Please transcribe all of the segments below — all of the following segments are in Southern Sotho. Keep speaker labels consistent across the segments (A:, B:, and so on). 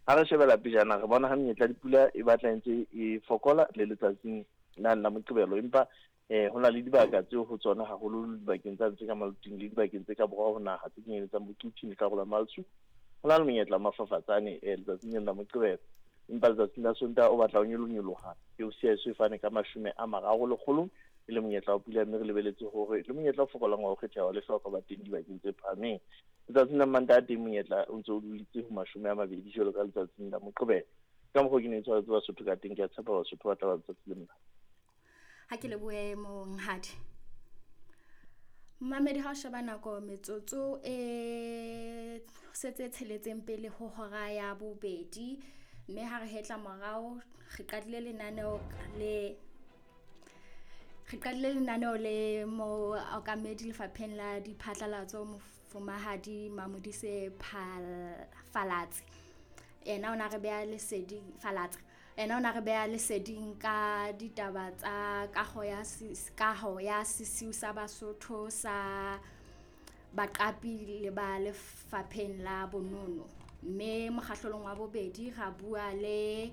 A: Ha re shebela pejana re bona ha menyetla ya dipula e batla e ntse e fokola le letsatsing lane la Moqebelo, empa eh ho na le dibaka tseo ho tsona haholo dibakeng tsa tse ka Maluting le dibakeng tse ka borwa ho naha tse kenyeletsang bo Quthing le karolo ya Maltsu. Ho na le monyetla wa mafafatsane eh letsatsing lena la Moqebelo, empa letsatsing la Sontaha o batla o nyolonyoloha ke o siya eso e fane ka 30 lekgolong e le monyetla wa pula, mme re lebeletse hore le monyetla o fokolang wa ho kgetheha wa lehlwa o ka ba teng dibakeng tse phahameng. Letsatsing la Mantaha teng monyetla o ntse o dulitse ho 20 jwalo ka letsatsing la Moqebelo. Ka mokgwa ke ne ke tshwaretse Basotho ka teng, ke a tshepa Basotho ba tla ba letsatsi le monate.
B: Ha ke lebohe monghadi. Mamedi ha o sheba nako metsotso e setse tsheletseng pele ho hora ya bobedi, mme ha re hetla morao re qadile lenaneo le re qadile lenaneo le mookamedi lefapheng la diphatlalatso mofumahadi Mamodise Falatse. Yena o na re beha leseding Falatsa. Yena o na re beha leseding ka ditaba tsa kaho ya kaho ya sesiu sa Basotho sa baqapi le ba lefapheng la bonono. Mme mokgahlelong wa bobedi ra bua le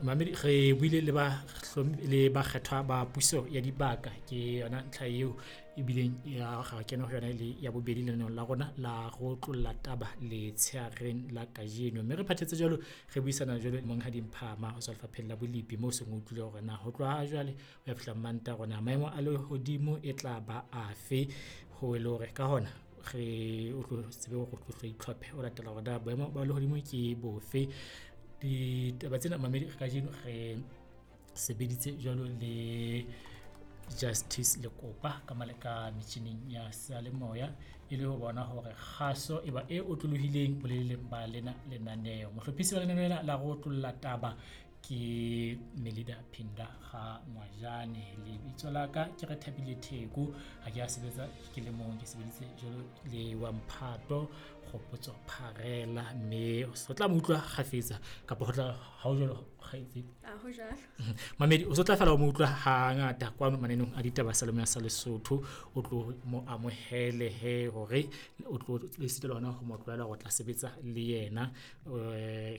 C: Mamedi re buile le ba le bakgethwa ba puso ya dibaka, ke yona ntlha eo ebileng ya ga kena ho yona le ya bobedi lenaneong la rona la go tlolla taba letsheareng la kajeno. Mme re phathetse jwalo re buisana jwalo le Monghadi Mphama ho tswa lefapheng la bolipi, moo seng o utlwile hore na ho tloha jwale ho ya fihla Mantaha hore na maemo a lehodimo e tla ba afe, ho e le hore ka hona re o tlo tsebe hore o tlo itlhophe o latela hore na boemo ba lehodimo ke bofe. Ditaba tsena mamedi kajeno re sebeditse jwalo le Justice Lekopa ka maleka metjhining ya seyalemoya e le ho bona hore kgaso e ba e otlolohileng boleleng ba lena lenaneo. Mohlophisi wa lenaneo lena la go otlolla taba ke Melida Phinda ga Ngwajane. Lebitso la ka ke Rethabile Theko, ha ke a sebetsa ke le mong, ke sebeditse jwalo le wa Mphato Kgopotso Pharela, mme o tla mo utlwa kgafetsa kapa ho tla ha o jwalo kgaitsedi?
B: Ha ho jwalo.
C: Mamedi o so tla fela o mo utlwa hangata kwano mananeng a ditaba sa Salemoya sa Lesotho, o tlo mo amohele he hore o tlo le sitela hona ho mo tlwaela hore o tla sebetsa le yena.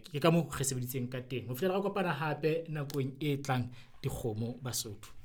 C: Ke ka moo re sebeditseng ka teng ho fihlela re kopana hape nakong e tlang. Dikgomo Basotho.